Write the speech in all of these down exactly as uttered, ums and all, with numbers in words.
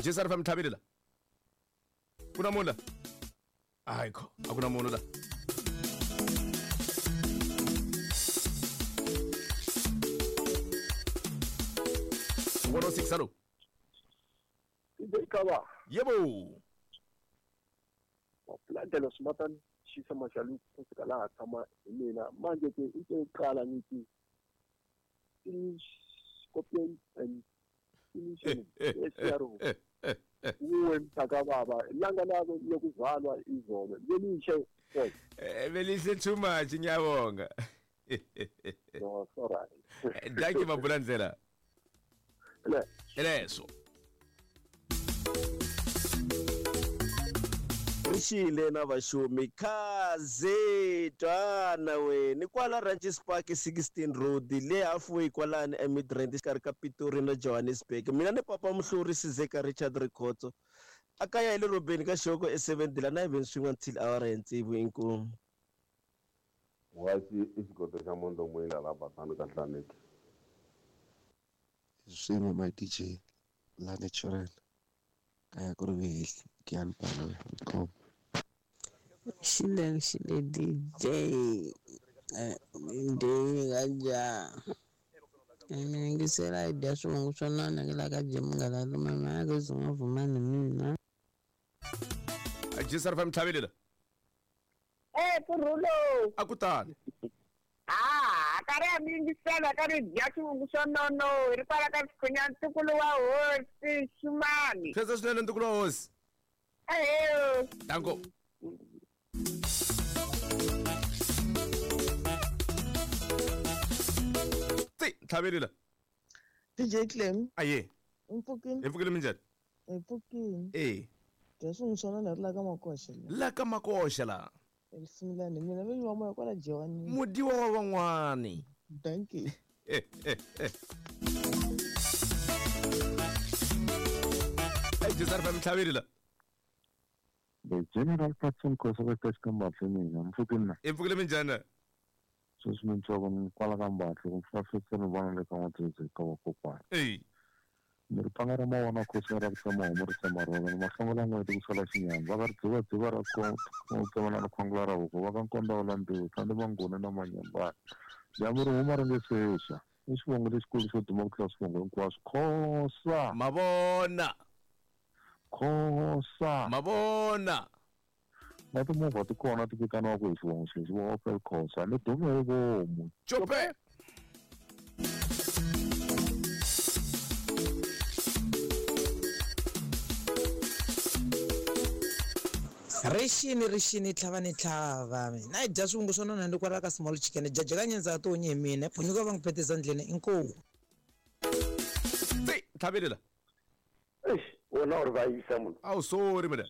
J S R F M, tlhavile la ku na munhu la ayikho a ku na munhu la one oh six. Hello. Kaba. Yebo. Wapulandela Sumatan Shisa Mashalu kusika laha tshama hi mina manje ke i ke qala ngithi finish Scorpion and finish S R O uwe mntaka baba ilanga labo lokuzalwa izolo belishe. Eh, belihle too much, ngiyabonga. No, sorry. Thank you, Mabulandlela. Le. Leso. Rixile na vaxumi khaze twana we ni kwala Ranches Park sixteen Road le halfway kwalani eMidrand exikarhi ka Pitori na Johannesburg. Mina ni papa Muhluri Sizeka Richard Rikhotso a kaya hi le robeni ka xoko e seven la na even swin'we until awara ya tsevu. Inkomu. Wasi i xikoto xa mondo mwila la basani ka hlaneki. Swin'we my D J la natural kaya ku ri vehehli kuyani pano inkomu. Xile xile D J eh D J kanjani mina yingisela hi dya swivongo swa nona ke la ka Munghana Lonene ke zungavumani mina. J S R F M, tlhavile la. Eh, Purulo. A ku tani. Ah, ka ri a mi yingisela ka ri dya swivungu swa nono hi ri kwala ka Xikhonya ntukulu wa hosi Xumani. Khensa swinene ntukulu wa hosi. Ehe. Danko. Ti tlhavile la. D J Clem. Aye. Mpfukini. Hi pfukile, minjhani? Hi pfukini. Eh. Dya swin'we swa nona ri la ka makoxa la. La ka makoxa la. Esimilani mina vinyi wa moya kwala Jewani. Mudiwa wa van'wani. Thank you. Eh eh eh. J S R F M, tlhavile la. The General Patson Khosa ka ka mbahle mina mpfukini na. Hi pfukile, minjhani? Sweswi mintsongo ni kwala ka mbahle ku fafisa ni vona le ka n'watshezi ka vakokwana. Ey. Ni ri panga ra mavona khosi ra ku tsema homu ri tsema rona ni mahlongola n'weti ku sala xinyama va ka ri dzivadziva ra ku tsemana ni khwangula ra huku va ka nkonda wa landziwa sandi mangoni na manyambana dyambu ri huma ri nge sexa i xivongo lexikulu xo duma ku tlula swivongo hinkwaswo Khosa. Mavona. Khosa. Mavona. Na timovha ti kona ti vitaniwaka hi xivongo xexi vo Opel Khosa ni dume hi vomu. Chope. Rixini rixini tlhava ni tlhava mina hi dya swivungu swo nona ni kwala ka small chicken jaja ka nyendza to onye hi mina phunyuka va n'wi phetisa ndleni inkomu. Ti tlhavile la. Eish, wena u ri vayisa munhu. Awu, sorry mina.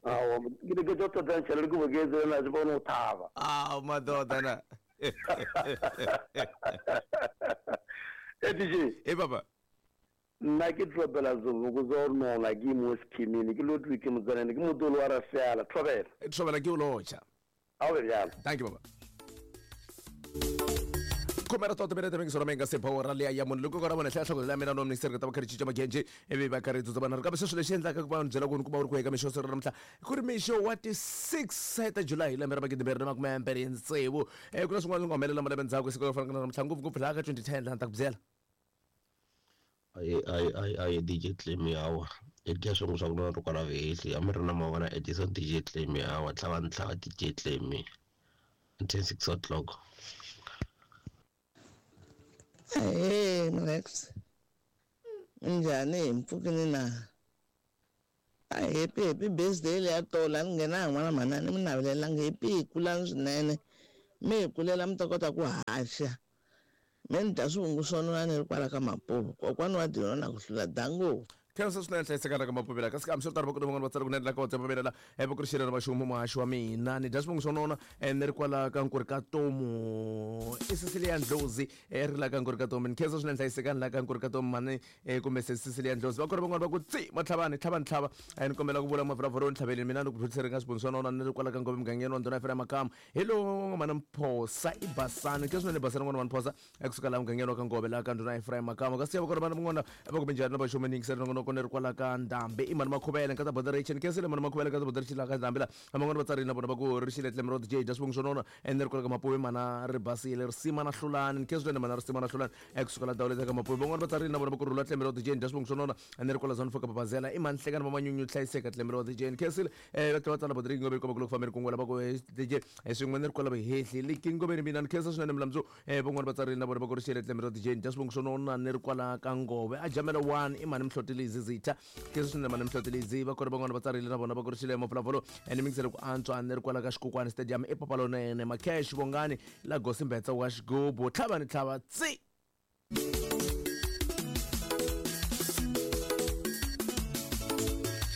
Awa, ke ne ke tlo tota ntšhela ke boketse na se bone o thaba. Awu madoda na. Eh D J. Eh baba. Nna ke tlopela zoboko zo nona ke mo schemini ke lotwe ke motsanene ke motolo wa rafela thobela. Thobela ke o locha. A o bjalo. Thank you baba. Khomera tota bene tebeng sora menga sepho ra le ya munhu loko ka ra vona hlaya hloko la mina no minister ka tava khari chicha magenje ivi va karhi tsutsa vana kambe sweswo lexi endlaka ku va byela ku ku va u ri ku eka mixo siku ra namuntlha ku ri mixo wa ti six ta July lembe ra magidi mbirhi na makume mbirhi tsevu. eh ku na swin'wana swi nga humelela malembe ndzhaku siku ro fana na namuntlha, ngopfungopfu laha ka twenty ten laha ni ta ku byela. Ayi ayi ayi ayi D J Clem hawa i dya swin'we swa ku nona ri kwala vehehli a mi ri na mavona Edison D J Clem hawa tlhava ni tlhava D J Clem until six o'clock. Hey Rex. Minjhani, mpfukini na? A happy happy birthday leya tola ni nghena n'wana manani mi navelelanga happy hi kulani swinene mi hi kulela mi ta kota ku haxa mi ni dya swivungu swo nona ni ri kwala ka Mapuvo kokwani wa dino na ku hlula dango. Khensa swinene hlayisekana ka Mapuvela kasi kambe swi tano va van'wana va tsala kunene la ka WhatsApp va la e va ku ri xirhelo va xumu muhaxi wa mina ni dya swivungu swo nona ni ri kwala ka Nkuri ka Tomu i Cecilia Ndlozi ri la ka Nkuri ka Tomu. Ni khensa swinene hlayisekani la ka Nkuri ka Tomu mani kumbe se Cecilia Ndlozi va ku ri van'wana va ku tsi matlhavani tlhavani tlhava ni kombela ku vula mavhuravhura ni tlhaveleni mina ni ku producer nga swivungu swo nona ni ri kwala ka Ngove mugangeni wa ndhuna ya Makamu hi lowu n'wana Mphosa i Basani khensa swinene Basani n'wana wa Mphosa ekusuka laha mugangeni wa ka Ngove la ka ndhuna ya Makamu kasi va ku ri vana van'wana va ku minjhani na va xumu ni yingisela nongonoko. loko ni ri kwala ka ndhambi i mani makhuvele nkata boderation kensile mani makhuvele nkata boderation la ka ndhambi la van'wana va tsarile na vona va ku ri xile Clem Road J dya swivongo swo nona ene ri kwala ka Mapuve mana ri basile risima na hlulani nkhensi mana risima na hlulani ekusuka la dawuleta ka Mapuve van'wana va tsarile na vona va ku rhula Clem Road J dya swivongo swo nona ene ri kwala Zone four ka Babazela i mani hlekani va manyunyu hlayiseka Clem Road J nkensile va tlhela va tsala boderation ngove komba ku loko fambeni kun'wana va ku D J swin'we ni ri kwala vahehli likingoveni mina ni khensa swinene milamdzo van'wana va tsarile na vona va ku ri xile Clem Road J dya swivongo swo nona ni ri kwala ka Ngove a jamela one i mani mhlotelizi zitha khensa swinene mani mhlotelizi va kona van'wana va tsarile na vona va ku ri xile mavulavulo ene mingisele ku antswa ni ri kwala ka Xikokwani Stadium i papalonene Macash Vongani la Gosimbetsa wa xigubu tlhava ni tlhava tsi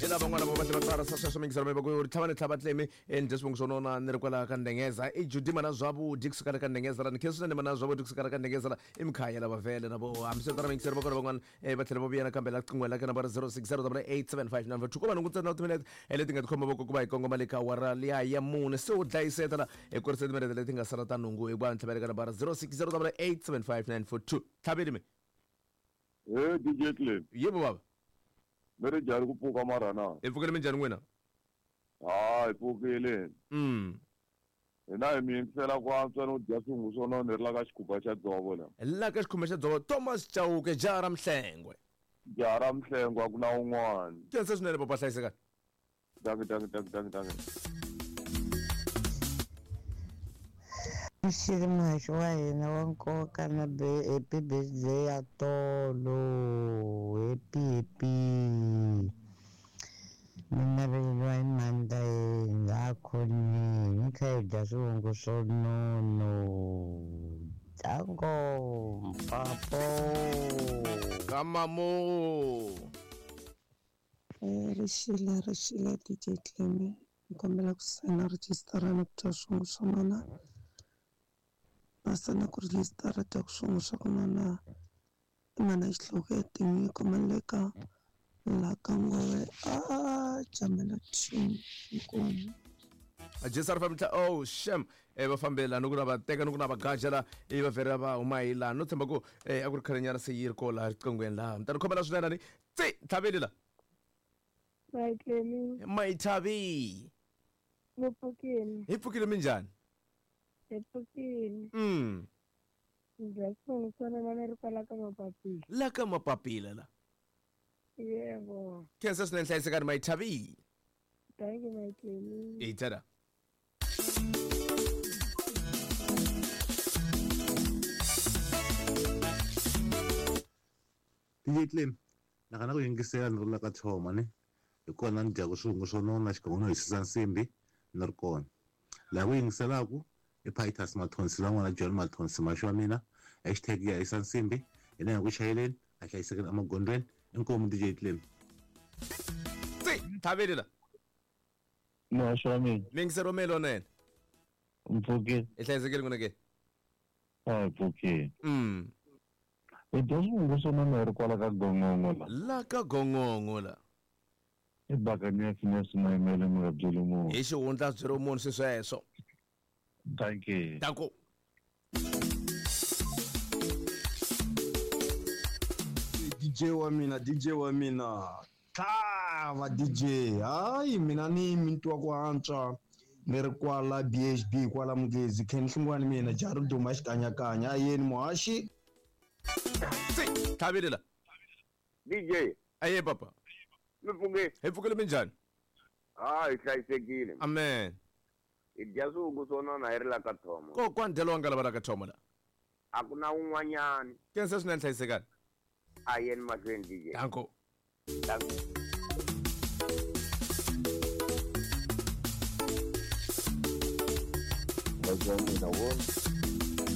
ila van'wana va va tsara sweswo mingiselo va ku ri tlhava ni tlhava tlemi endle swivongo swo nona ni ri kwala ka Ndengeza i Judy mana Zwavhudi kusuka ka Ndengeza ra ni khensa swinene mana Zwavhudi kusuka ka Ndengeza la i Mkhaya lava vele na vo hambiswiritano mingiselo va kona van'wana va tlhela va vuya nakambe la qingweni la ka nambara zero six zero double eight seven five nine two ko va nhungu ntsena timinete leti nga tikhoma voko ku va hi kongoma le ka awara liya ya mune se u dlayiseta la hi kurisa timinete leti nga sala ta nhungu hikuva ni tlhavele ka nambara zero six zero double eight seven five nine four two tlhaveli mi he D J Clem yebo baba mi ri njhani ku pfuka mara na hi pfukile minjhani n'wina ha hi pfukile mm hina hi mi yingisela ku antswa no dya swivungu swo nona ni ri la ka xikhuba xa dzovo la la ka xikhuba xa dzovo Thomas Chauke jaha ra Mhlengwe jaha ra Mhlengwe a ku na un'wana khensa swinene papa hlayisekani danki danki danki danki danki Xili muhaxi wa hina wa nkoka na happy birthday ya tolo happy happy mi naveleriwa hi mandla yena a khonini ni kha hi dya swivongo swo nono dango papo kamamo Rixile rixile D J Clem ni kombela ku sayina rejistara na ku dya swivongo swo nona basana ku rejistara dya ku swivongo swa ku nona i mana xihloko ya tinyiko maleka la ka Ngove a jamela two inkomu Jesar family oh shem e va fambela no ku na va teka no ku na va gajela i va vhera va huma hi laha no tshemba ku a ku ri khalenyana se yi ri ko laha riqingweni laha mi ta ni khomela swinene ni tsi tlhaveli la Mayitlemi mayithavi mi pfukile hi pfukile minjhani hi pfukile mm dya swivongo swo nona ni ri kwala ka Mapapila la ka Mapapila la yebo khensa swinene hlayisekani mayithavi thank you Mayitlemi hi tsena D J Clem nakana ku yingisela ni ri la ka Thoma ne hi kona ni dyaku swivungu swo nona xikan'we no hisisa nsimbi ni ri kona laha ku yingiselaku i Pitus Mathonsi la n'wana John Mathonsi maxi wa mina hashtag ya hisa nsimbi hina hi ku chayeleni a hlayisekeni emagondzweni inkomu D J Clem tsi tlhaveli la muhaxi wa mina mingiselo melonene mpfukile hi hlayisekile n'wina ke a hi pfukile mm hi dya swivungu swo nona hi ri kwala ka Gongongo la la ka Gongongo la i bakanyasi nyasi mayimele mi nga byeli munhu hi xihundla byeri munhu swi sweswo thank you danko D J wa mina D J wa mina tlhava D J hayi mina ni minti wa ku antswa ni ri kwala B H B kwala Mugezi Ken Hlungwani mina jaha ri duma xikanyakanya a yeni muhaxi tsi tlhaveli la D J aye papa mi pfuke hi pfukile minjhani ha hi hlayisekile amen hi dya swivungu swo nona hi ri la ka Thoma kokwani dyelo wa nga lava la ka Thoma la a ku na un'wanyani khensa swinene hlayisekani a yeni mahlweni D J danko danko muhaxi wa mina wo